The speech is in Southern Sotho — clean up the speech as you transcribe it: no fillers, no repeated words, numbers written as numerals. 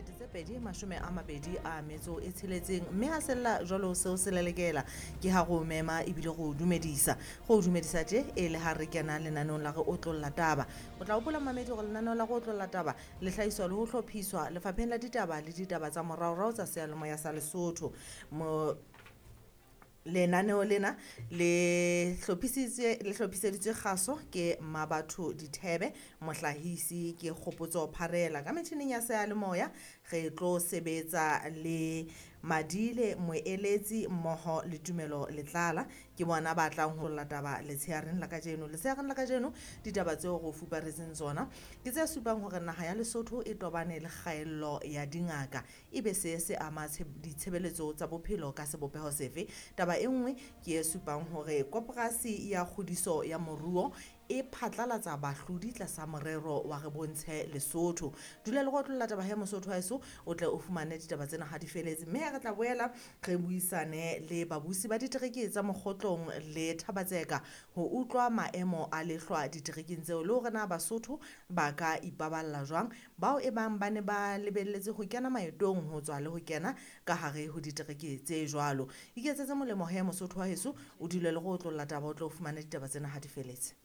2026, mme ha sella jwalo seo se lelekela ke ha go mema ebile go dumedisa, go dumedisa tje e le ha re kena lenaneong la re otlolla taba. O tla hopola, mamedi, gore lenaneo la go otlolla taba le hlahiswa le ho hlophiswa lefapheng la ditaba le ditaba tsa moraorao tsa seyalemoya sa Lesotho. Mo lenaneo lena le hlophisitswe, le hlophiseditswe kgaso ke Mabatho Dithebe, mohlahisi ke Kgopotso Pharela. Ka metjhining ya seyalemoya re tlo sebetsa le Madile Moeletsi mmoho le Tumelo Letlala, ke bona ba tlang ho taba letsheareng la kajeno. Letsheareng la kajeno ditaba tseo go fuparetseng tsona ke tse supang hore naha ya Lesotho e tobane le kgaello ya dingaka, ebe se se ama ditshebeletso tsa bophelo ka sebopeho sefe. Taba e nngwe ke e supang hore koporasi ya kgodiso ya moruo e phatlalatsa bahlodi tlasa morero wa Re Bontshe Lesotho. Dula le go otlolla taba he, Mosotho wa heso, o tle o fumane ditaba tsena ha di feletse. Mme re tla boela re buisane le babusi ba ditereke tsa Mokgotlong le Thabatseka ho utlwa maemo a lehlwa diterekeng tseo, le hore na Basotho ba ka ipaballa jwang bao e bang ba ne ba lebelletse ho kena maetong ho tswa le ho kena ka hare ho ditereke tse jwalo. Iketsetse molemo he, Mosotho wa heso, o dule le go otlolla taba, o tle o fumane ditaba tsena ha di feletse.